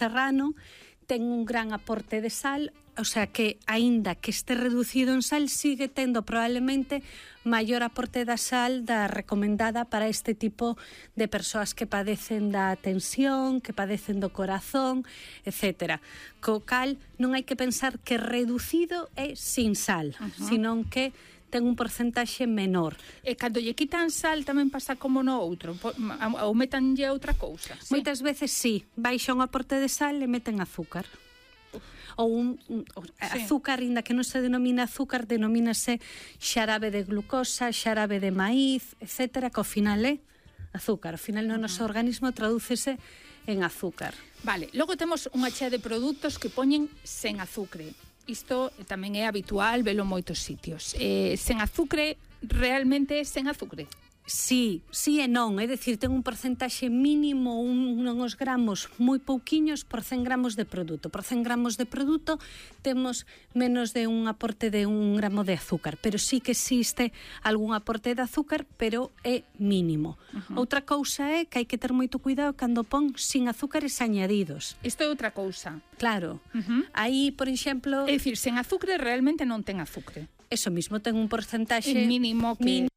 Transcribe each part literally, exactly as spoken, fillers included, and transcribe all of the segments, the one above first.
serrano ten un gran aporte de sal, o sea que, aínda que este reducido en sal, sigue tendo probablemente maior aporte da sal da recomendada para este tipo de persoas que padecen da tensión, que padecen do corazón, etcétera. Co cal, non hai que pensar que reducido é sin sal, uh-huh. senón que ten un porcentaxe menor. E cando lle quitan sal tamén pasa como no outro, ou metanlle outra cousa. Sí? Moitas veces sí, baixa un aporte de sal e meten azúcar. Ou un, un sí. azúcar, inda que non se denomina azúcar, denomínase xarabe de glucosa, xarabe de maíz, etcétera, que ao final é azúcar. Ao final no noso uh-huh. organismo tradúcese en azúcar. Vale, logo temos unha chea de produtos que poñen sen azucre. Isto tamén é habitual, velo en moitos sitios. Eh, sen azucre, realmente é sen azucre? Sí, sí e non, é dicir, ten un porcentaxe mínimo, un, uns gramos moi pouquiños por cen gramos de produto. Por cen gramos de produto temos menos de un aporte de un gramo de azúcar, pero sí que existe algún aporte de azúcar, pero é mínimo. Uh-huh. Outra cousa é que hai que ter moito cuidado cando pon sin azúcares añadidos. Isto é outra cousa. Claro. Uh-huh. Aí, por exemplo... É dicir, sen azúcar realmente non ten azúcar. Eso mismo, ten un porcentaxe... É mínimo que... Mínimo.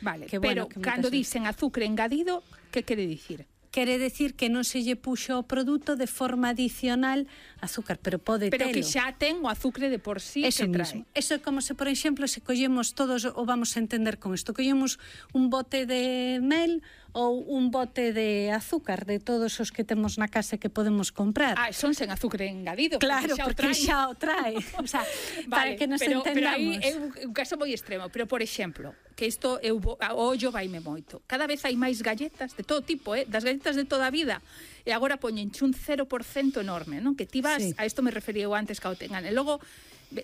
Vale, que pero bueno, que cando dicen azúcar engadido, que quere dicir? Quere decir que non se lle puxo o produto de forma adicional azúcar, pero pode pero telo. Pero que xa ten o azúcar de por sí Eso que mismo. trae. Eso é como se, por exemplo, se collemos todos, o vamos a entender con isto, collemos un bote de mel ou un bote de azúcar de todos os que temos na casa que podemos comprar. Ah, son sen azúcar engadido. Claro, porque xa porque xa o o trae. trae. O sea, vale, para que nos pero, entendamos. Pero aí é un, un caso moi extremo. Pero, por exemplo, que isto eu, o ollo vaime moito. Cada vez hai máis galletas de todo tipo, eh? Das galletas de toda a vida. E agora poñenche un cero por cento enorme, non? Que ti vas, sí. A isto me refería eu antes que o tengan. E logo,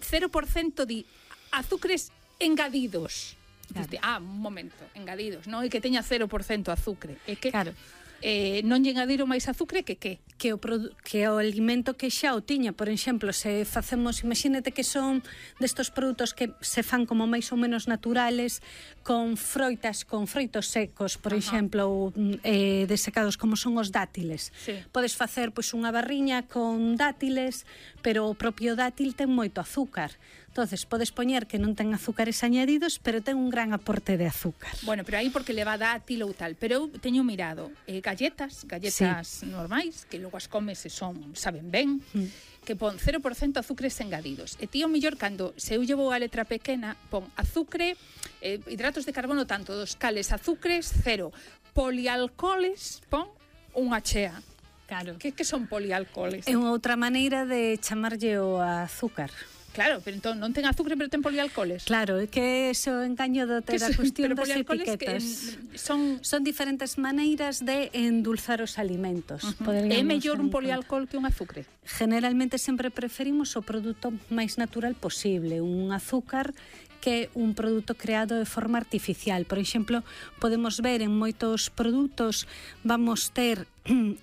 cero por cento de azúcares engadidos. Claro. Diste, ah, un momento, engadidos, non? E que teña cero por cento azúcar. E que claro. eh, non lle engadiron máis azúcar que que? Que o, que o alimento que xa o tiña, por exemplo, se facemos, imagínate que son destos produtos que se fan como máis ou menos naturales, con froitas, con froitos secos, por Ajá. exemplo, ou, eh, desecados como son os dátiles. Sí. Podes facer pois unha barriña con dátiles, pero o propio dátil ten moito azúcar. Entonces, podes poñer que non ten azúcares añadidos, pero ten un gran aporte de azúcar. Bueno, pero aí porque leva dátil ou tal. Pero eu teño mirado eh, galletas, galletas sí. normais, que logo as comes e son, saben ben, mm. que pon cero por cento azúcares engadidos. E tío, mellor, cando se eu llevo a letra pequena, pon azúcar, eh, hidratos de carbono tanto, dos cales, azúcares, cero. Polialcoholes, pon unha chea. Claro. Que, que son polialcoholes? É unha outra maneira de chamarlle o azúcar. Claro, pero entón non ten azúcar, pero ten polialcoholes. Claro, é que ese o engaño do ter a cuestión das etiquetas. Que son son diferentes maneiras de endulzar os alimentos. Uh-huh. É mellor un polialcohol que un azúcar? Generalmente sempre preferimos o produto máis natural posible, un azúcar que un produto creado de forma artificial. Por exemplo, podemos ver en moitos produtos, vamos ter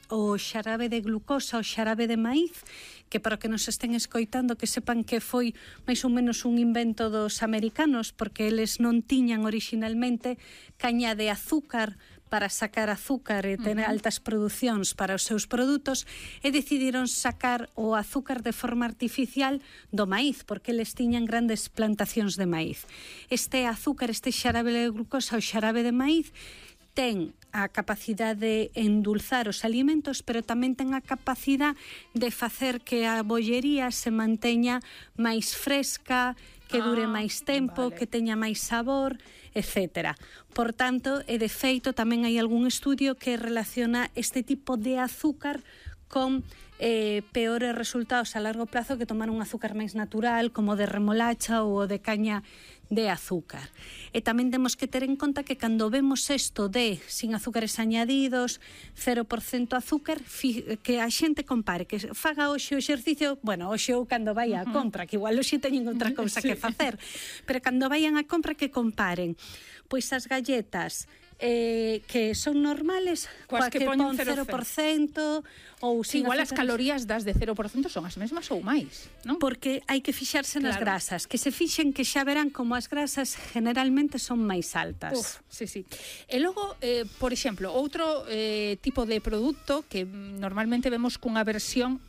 o xarabe de glucosa, o xarabe de maíz, que para que nos estén escoitando que sepan que foi máis ou menos un invento dos americanos, porque eles non tiñan originalmente caña de azúcar para sacar azúcar e tener uh-huh. altas producións para os seus produtos, e decidiron sacar o azúcar de forma artificial do maíz, porque eles tiñan grandes plantacións de maíz. Este azúcar, este xarabe de glucosa, o xarabe de maíz, ten a capacidade de endulzar os alimentos, pero tamén ten a capacidade de facer que a bollería se manteña máis fresca, que dure ah, máis tempo, vale. Que teña máis sabor, etcétera. Por tanto, e de feito, tamén hai algún estudio que relaciona este tipo de azúcar con eh, peores resultados a largo plazo que tomar un azúcar máis natural, como de remolacha ou de caña de azúcar. E tamén temos que ter en conta que cando vemos isto de sin azúcares añadidos, cero por cento azúcar, fi, que a xente compare, que faga hoxe o exercicio, bueno, hoxe ou cando vai á compra, que igual hoxe teñen outra cousa sí. que facer, pero cando vayan á compra que comparen, pois as galletas eh, que son normales, coas que, que pon cero por cento ou sin igual azúcares. As calorías das de cero por cento son as mesmas ou máis, non? Porque hai que fixarse nas claro. grasas, que se fixen que xa verán como as grasas generalmente son máis altas. Uf, sí, sí. E logo, eh, por exemplo, outro eh, tipo de produto que normalmente vemos cunha versión